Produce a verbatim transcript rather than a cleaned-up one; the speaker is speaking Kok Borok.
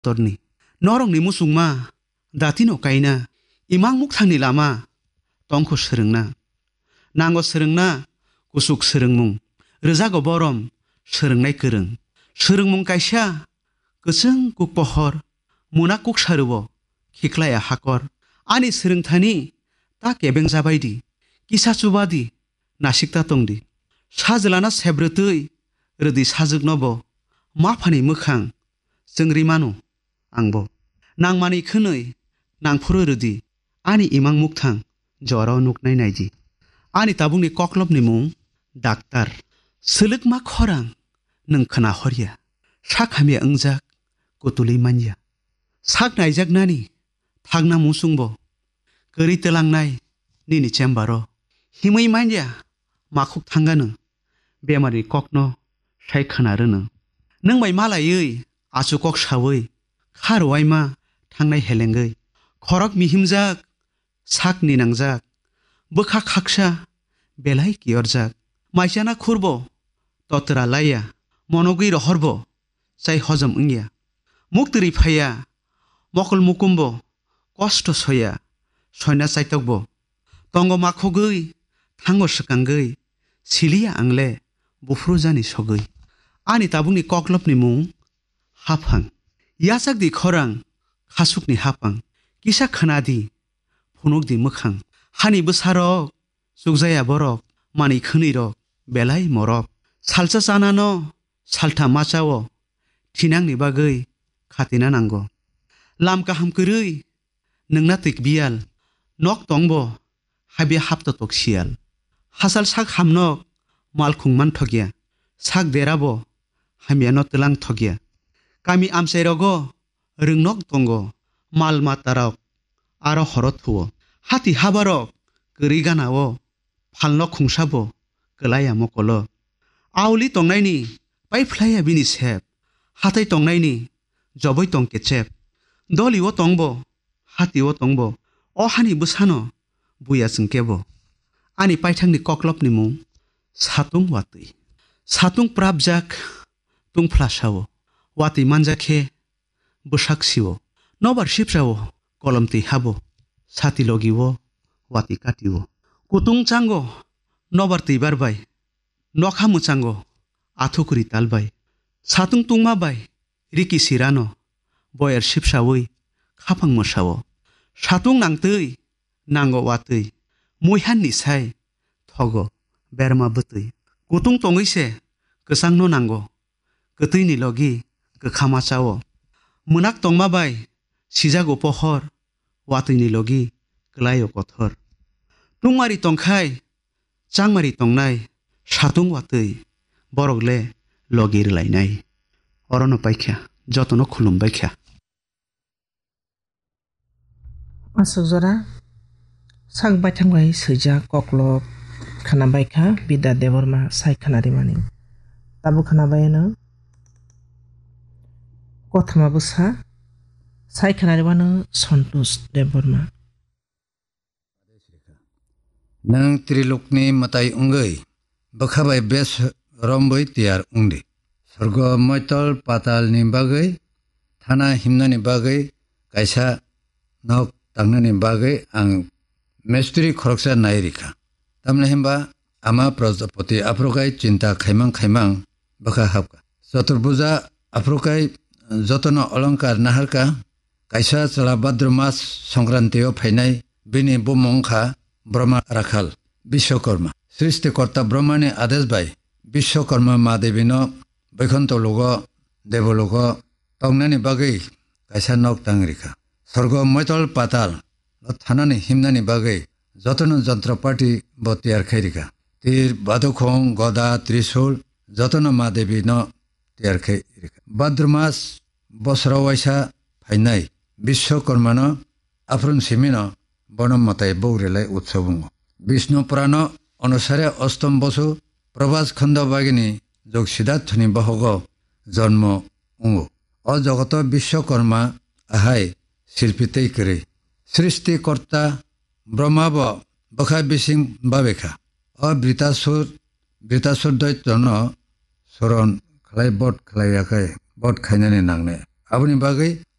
torni. Norokni muchungma datino kaina, imang mukthangni lama tongkho swrwngna. Nango swrwngna kuchuk swrwngmung, rwjago borom swrwngnai kwrwng. Swrwngmung kaisa kwchwng kuk pohor, muna kuk sarwo khiklaya hakor. Ani swrwngthani ta kebeng jabaidi, kisa chubadi, nasikta tongdi. Sajlana sebrwtwi rwdi sajwknobo, maphani mwkhang chwngri mano. Angbo nangmani khwnwi nangphuru rwdi, ani imang mukthang jorao nuknai naidi. Ani tabukni koklopni mung daktar. Swlwkma khorang nwng khna horya, sak hamya wngjak kutulwi manya. Sak naijaknani thakna muchungbo kwrwi twlangnai nini chembaro. Himwi manya makhuk thangano, bemarni kokno sai khna rwno. Nwng bai malaiwi achu kok saui kha rwuaima thangnai helengwi. Khorok mihimjak, sak ninangjak, bwkha khaksa belai kiyorjak. Maichana khurbo totra laiya, monogwi rohorbo chai hojom wngya. Muktwrwi phaiya, mokol mukumbo kosto soya, soina chaitokbo. Tongo makhogwi, thango swkangwi, siliya angle buphuru jani sogwi. Ani tabukni koklopni mung haphang. Yachakdi khorang, khasukni haphang. Kisa khnadi, phunukdi mwkhang. Hani bwsarok, chukjaya borok, manwi khwnwirok, belai morok. Salsa chanano, saltham machao, thinangni bagwi khatina nango. Lam kaham kwrwi, nwngna twik biyal, nok tongbo, habya hapto tok siyal. Hachal sak hamnok, malkhung manthokya, sak derabo, hamyano twlang thokya. Kami amchairogo, rwngnok tongo, mal matarok, aro horo thuo. Hati habarok, kwrwi ganao, phalno khungsabo, kwlaiya mokolo. Auli tongnaini, paiphlaiya bini sep. Hatai tongnaini, joboi tong kechep. Dolio tongbo, hatio tongbo, o hani bwsano, buya chwng kebo. Ani paithakni koklopni mung, satung watwi. Satung prapjak, tungphla sao. Watwi manjak khe, bwsak sio. Nobar sipsao, kolom twi habo. Sati logio, watwi katio. Kutung chango, nobar twibar bai. Nokha mwchango, athukri tal bai. Satung tungma bai, riki sirano, boyar sipsawi, khapang mwsao. Satung nangtwi, nango watwi, muihanni sai, thogo, berma bwtwi. Kutung tongwi se, kwchangno nango, kwtwini logi, kwkha machao. Mwnak tongma bai, sijago pohor, watwini logi, kwlaio kothor. Tungmari tongkhai, changmari tongnai, satung watwi, borok le logi rwlainai. Orono paikha, jotono khulum baikha. Aswk jora sak baithang bai swijak koklop khna baikha Bidya Debbarma sai khna rimani. Tabuk khna bai ano kothoma bwsa sai khna rimano Santosh Debbarma. Nwng trilokni mwtai wngwi bwkha bai bes romwi tiyar wngdi. Sorgo moitol patalni bagwi thana himnani bagwi kaisa nok tangnani bagwi ang mestri khoroksa nai rikha. Tamni himba ama Prajapati aphrukai chinta khaimang khaimang bwkha hapkha. Choturbuja aphrukai jotono olongkar naharkha. Kaisa chwla Bhadra mas Songkrantio phainai, bini bumung wngkha Brahma Rakhal Biswakarma. Srishtikorta Brahmani adesh bai Biswakarma Madevino Boikhonto logo, Devologo tongnani bagwi kaisa nok tang rikha. Sorgo moitol patal o thanani himnani bagwi jotono jontrapati bo tiyar khai rikha. Tir, badukhong, goda, trisul jotono Madevino tiyar khai rikha. Bhadra mas bosoro waisa phainai Biswakarmano aphuru simino bono mwtai buk relai utsob wngo. Bishnu Purano onusare Ostom bosu Probas Khondo bagini jog Siddharthoni bohogo jonmo wngo. O jogoto Biswakarma ahai silpi tei kwrwi. Srishti Korta Brahma bo bwkha bising babekha. O Britasur, Britasur Doitono soron khlai bot khlai yakhai bot khainani nangne. Aboni bagwi